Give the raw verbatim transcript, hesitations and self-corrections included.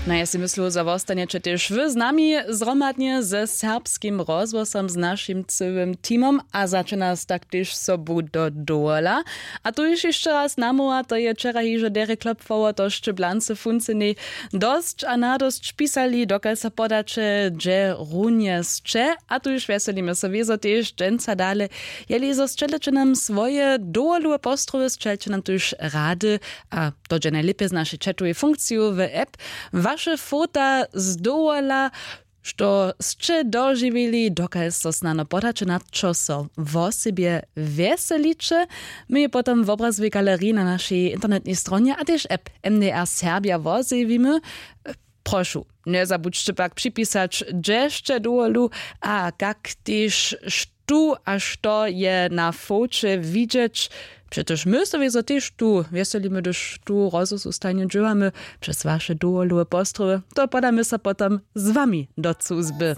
No ja sej myslu, zo wostanjeće tež wy z nami zhromadnje ze serbskim rozhłosom, z našim cyłym teamom, a začina z tak tež sobu do dowola. A tu ješ hišće raz namoła, to je wčera hižo derje klopfoło to sće blance funcenej dosć a nadosć pisali, dokal so podaće dźe runje sće. A tu ješ wjeselimy so wězo tež dźensa dale, jeli zo sćeljeće nam swoje dowoluwe postrowy, sćeljeće nam tuž rady, a to dźe najlěpje z našej četowej funkciju w app, waše fota z dowola, što sće dožiwili, dokal so snano podaće na čo so wosebje wjeseliće. My je potom w obrazowej galeriji na našej internetnej stronje a tež app mdr serbja wozjewimy. Prošu, njezabudźće pak připisać hdźe sće dowolu, a kak tež štó a što je na foće widźeć. Přetož my so wězo tež tu wjeselimy, hdyž tu rozhłosu stajnje dźěłamy přez waše dowoluwe postrowy, to podamy so potom z wami do cuzby.